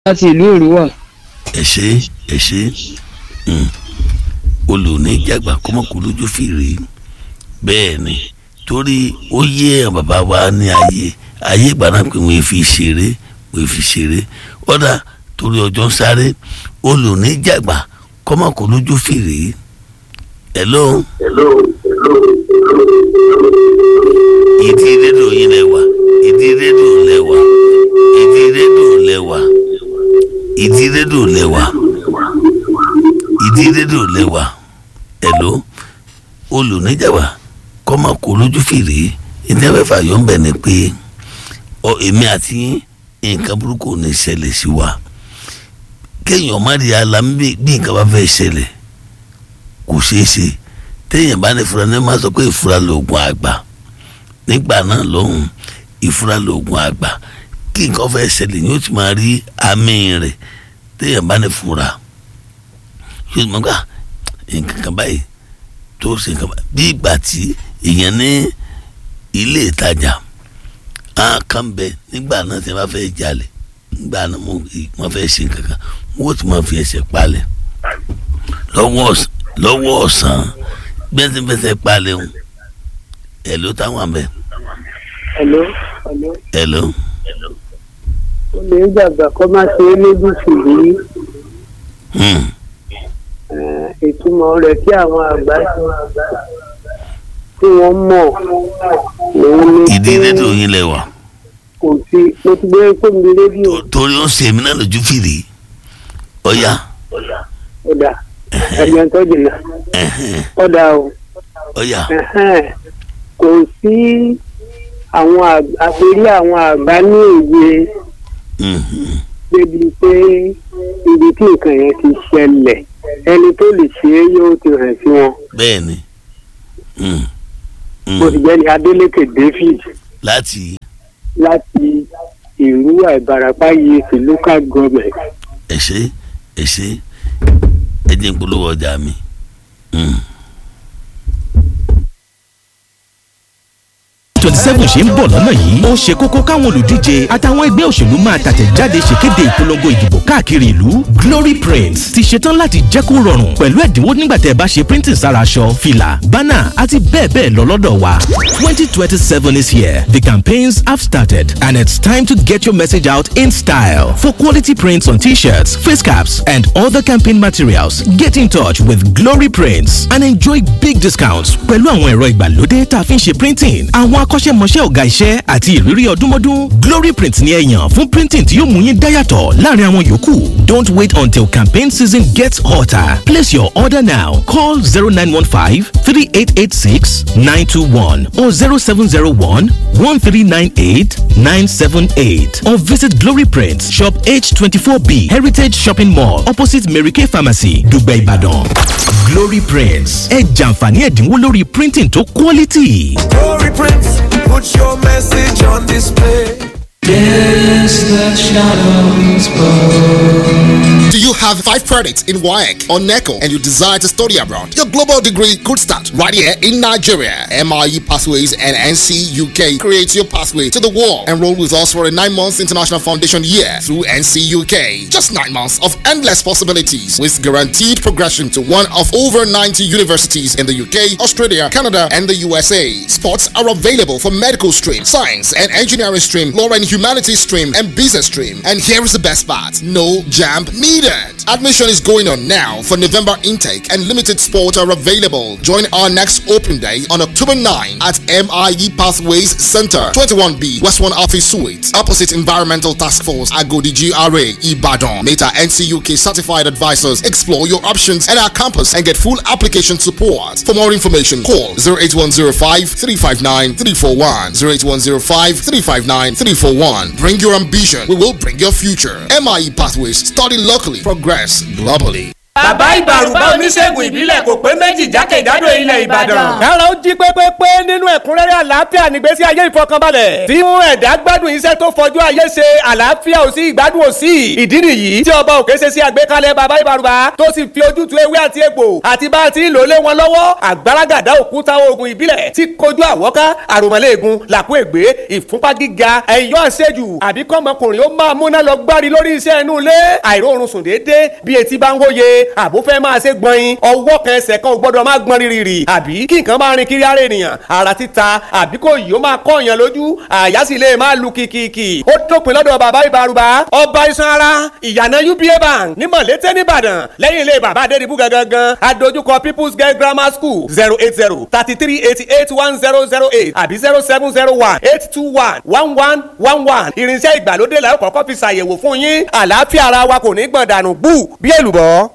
Láti ìlú Èrúwà. Ẹ ṣé, ẹ ṣé. Olùníjàgbá kọ́mọkù lójú fìrí. Bẹ́ẹ̀ ni, torí ó yé àwọn bàbá wa ní ayé ayé ìgbà náà pé wọ́n fi ṣeré, wọ́n fi ṣeré. Ọ̀dà torí ọjọ́ ń sáré, olùníjàgbá kọ́mọkù lójú fìrí. Hello. Ìdí rédíò yín lẹ wà, ìdí rédíò lẹ wà, ìdí rédíò lẹ wà, ìdí rédíò lẹ wà, ìdí rédíò lẹ wà. Hello. Olùníjàgbá kọ́mọkù lójú fìrí. Ìdí abẹ́fà yọ̀ ń bẹ̀ ni pé ọ èmi àti yín, nǹkan burúkú ò ní ṣẹlẹ̀ sí wa. Kéèyàn má rí alámi bí nǹkan bá fẹ́ ṣẹlẹ̀ kò ṣeé ṣe. Téèyàn bá ní ìfura ní máa sọ pé ìfura lòògùn àgbà. Nígbà náà lóhùn, ìfura lòògùn àgbà. Kí nǹkan fẹ́ ṣẹlẹ̀ yóò ti máa rí àmì rẹ̀. Téèyàn bá ní ìfura yóò ti máa gbà nǹkan kan báyìí tó ṣe nǹkan báyìí. Bí ìgbà tí èèyàn ní ilé ìtajà, á kàn bẹ nígbà náà tí wọ́n bá fẹ́ jalè, nígbà náà wọ́n fẹ́ ṣe nǹkan kan, wọ́n ó ti máa fi ẹsẹ̀ palẹ̀ lọ́wọ́ ọ̀sán gbẹ́sẹ̀gbẹ́sẹ̀ palẹ̀ ń. Hello táwọn àbẹ̀. Hello. Hello. Olùníjàgbá kọ́ máa ṣe é lójú fìrí. Ìtumọ̀ rẹ̀ tí àwọn àgbà tí wọ́n mọ̀ òun ni Ìdí rédíò yín lẹ wà. Kò sí, mo ti gbé fóònù rédíò. Torí ó ń ṣe èmi náà lójú fìrí. Ọ̀ya. Ọ̀dà ẹ̀yàn tó jìnnà. Ọ̀dà o. Ọ̀ya. Kò sí àwọn àgbérí àwọn àgbà ní òye débi pé ibi tí nǹkan yẹn ti ṣẹlẹ̀, ẹni tó lè ṣe é yóò ti hàn sí wọn. Bẹ́ẹ̀ni. Mo sì jẹ́ ní Adeleke David. Láti. Láti Èrúwà, Ìbàràpá yìí ti local government. Ẹ ṣé, ẹ ṣé, ẹ jẹ́ n polówó ọjà mi. 27 ṣe ń bọ̀ lọ́nà yìí, ó ṣe kókó káwọn olùdíje àtàwọn ẹgbẹ́ òṣèlú máa tàtẹ̀jáde ṣèkéde ìpolongo ìdìbò káàkiri ìlú. Glory Prints ti ṣetán láti jẹ́ kó rọrùn pẹ̀lú ẹ̀dínwó nígbà tẹ́ ẹ bá ṣe printing sára aṣọ, fìlà, bánà àti bẹ́ẹ̀ bẹ́ẹ̀ lọ lọ́dọ̀ wa. 2027 is here. The campaigns have started and it's time to get your message out in style. For quality prints on t-shirts, face caps and other campaign materials, get in touch with Glory Prints and enjoy big discounts pẹ̀lú àwọn ẹ̀rọ ìgbàlódé tá a fi ń ṣe printing, àwọn akọ́ṣẹ́mọṣẹ́ ọ̀gá iṣẹ́ àti ìrírí ọdúnmọ́dún. Glory Print ni ẹ yàn fún printing tí yóò mú yín dáyàtọ̀ láàrin àwọn yòókù. Don't wait until campaign season gets hotter. Place your order now. Call 0915 3886 921 or 0701 1398 978 or visit Glory Print Shop H24B, Heritage Shopping Mall, opposite Mary Kay Pharmacy, Dùgbẹ̀, Ìbàdàn. Glory Prints, ẹ jàǹfààní ẹ̀dínwó lórí printing tó quality. Glory Prints, put your message on display. Yes, the shadows bow. Do you have 5 credits in WAEC or NECO and you desire to study abroad? Your global degree could start right here in Nigeria. MIE Pathways and NC UK creates your pathway to the world. Enroll with us for a 9-month international foundation year through NC UK. Just 9 months of endless possibilities with guaranteed progression to one of over 90 universities in the UK, Australia, Canada, and the USA. Spots are available for medical stream, science and engineering stream, law and humanities stream, and business stream. And here is the best part: no jam needed. Admission is going on now for November intake and limited spots are available. Join our next open day on October 9 at MIE Pathways Center, 21B, West 1 Office Suite, opposite Environmental Task Force, Agodi GRA, Ibadan. Meta NCUK certified advisors explore your options at our campus and get full application support. For more information, call 08105 359 341, 08105 359 341. Bring your ambition, we will bring your future. MIE Pathways, study locally, progress globally. Bàbá Ìbàrùbá, oníṣègùn ìbílẹ̀ kò pé méjì jákèjádò ilẹ̀ Ìbàdàn. Kára ó jí pépépé nínú ẹ̀kúnrẹ́rẹ́ àlàáfíà nígbésí ayé ìfọkànbalẹ̀. Tí mú ẹ̀dá gbádùn iṣẹ́ tó fọjú ayé ṣe, àlàáfíà ò sí, ìgbádùn ò sí. Ìdí nìyí tí ọba òkè ṣe sí àgbékalẹ̀ bàbá Ìbàrùbá tó sì fi ojútùú ewé àti egbò àti bá a ti ń lò lé wọn lọ́wọ́. Àgbàràgàdá òkúta oògùn ìbílẹ̀ tí kojú àwọ́ká, àròmọ̀lẹ́ẹ̀gùn, làkú ègbé, ìfúnpá gíga, ẹ̀yọ́ àṣejù, àbí kọ́mọkùnrin ó máa múná lọ gbárí lórí iṣẹ́ inú ilé, àìróorun sùn déédéé bí etí bá ń wóye, àbó fẹ́ máa ṣe gbọ̀nyin, ọwọ́ kan ẹsẹ̀ kan ò gbọ́dọ̀ máa gbọ́n rírì, àbí kí nǹkan máa rin kiri ara ènìyàn, ara títa, àbí kò yìí ó máa kọ́ èèyàn lójú, àyà sì lè máa lu kìkìkì. Ó dópin lọ́dọ̀ bàbá Ìbàrùbá, ọba iṣan ara, ìyànà UBA Bank ní Mọ̀lété nìbàdàn, lẹ́yìn ilé bàbá Adédìbú gangan, adójúkọ People's Girl Grammar School. 08033881008 àbí 07018211111. Irinṣẹ́ ìgbàlódé la ó kọ́kọ́ fi ṣàyẹ̀wò fún yín. Àlàáfíà ara wa kò ní gbọ̀n dànù bú bí èlùbọ́.